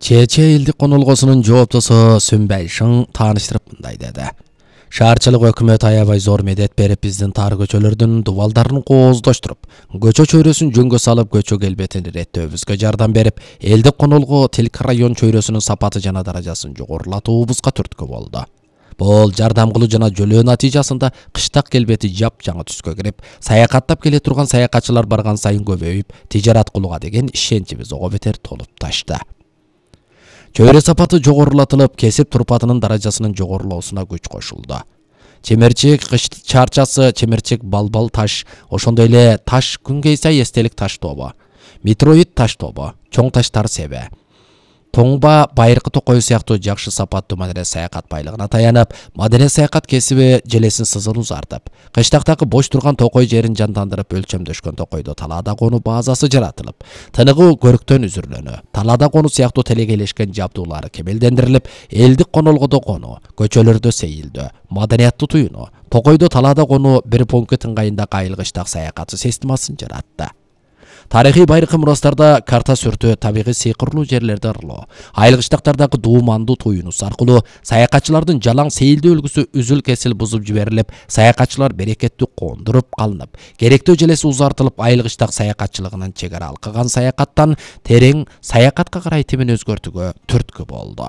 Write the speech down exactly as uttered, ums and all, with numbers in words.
Чече элдик конолгосунун жооптосу Сүмбай Шың тааныштырып мындай деди. Шаарчылык өкмөт аябай зор медет берип биздин тар көчөлөрдүн дубалдарын кооздоштуруп, көчө чөйрөсүн жөнгө салып көчө келбетин реттөөбүзгө жардам берип, элдик конолго тилк район чөйрөсүнүн сапаты жана даражасын жогорулатуубузга түрткү болду. Бул жардам кылуу жана жөлөө натыйжасында кыштак келбети жапжаңы түскө кирип, саякаттап келе турган саякатчылар барган сайын көбөйүп, тижарат кылууга деген ишеничибиз ого бетер толуп ташты. Чөйрө сапаты жогорулатылып, кесип турпатынын даражасынын жогорулоосуна күч кошулду. Чемерчек кыш чарчасы, чемерчек балбал таш, ошондой эле таш күнгейсай эстелик таш тобу, метроид таш тобу, чоң таштар себе, тоңба, байыркы токой сыяктуу жакшы сапаттуу маданият саякат байлыгына таянып, маданият саякат кесиби желесин сызыл узартып, кыштактагы бош турган токой жерин жандандырып өлчөмдөшкөн токойдо талаада конуу базасы жаратылып, тыныгы көрктөн үзүрлөнү, талаада конуу сыяктуу телегейлешкен жабдуулары кемелдендирилип, элдик конолгодо конуу, көчөлөрдө сейилдөө, маданияттуу туюну, токойдо талаада конуу бир пункт ыңгайында кайылгычтак саякаты системасын жаратты. Тарыхый байыркы мурастарда карта сүртүү, табигый сыйкырлуу жерлерди ырылоо, айылгычтактардагы дуумандуу туюнус аркылуу саякатчылардын жалаң сейилдөө үлгүсү үзүл кесил бузуп жиберилип, саякатчылар берекеттүү кондуруп калынып, керектүү желеси узартылып, айылгычтак саякатчылыгынын чегара алкыган саякаттан терең саякатка карай тимин өзгөртүүгө түрткү болду.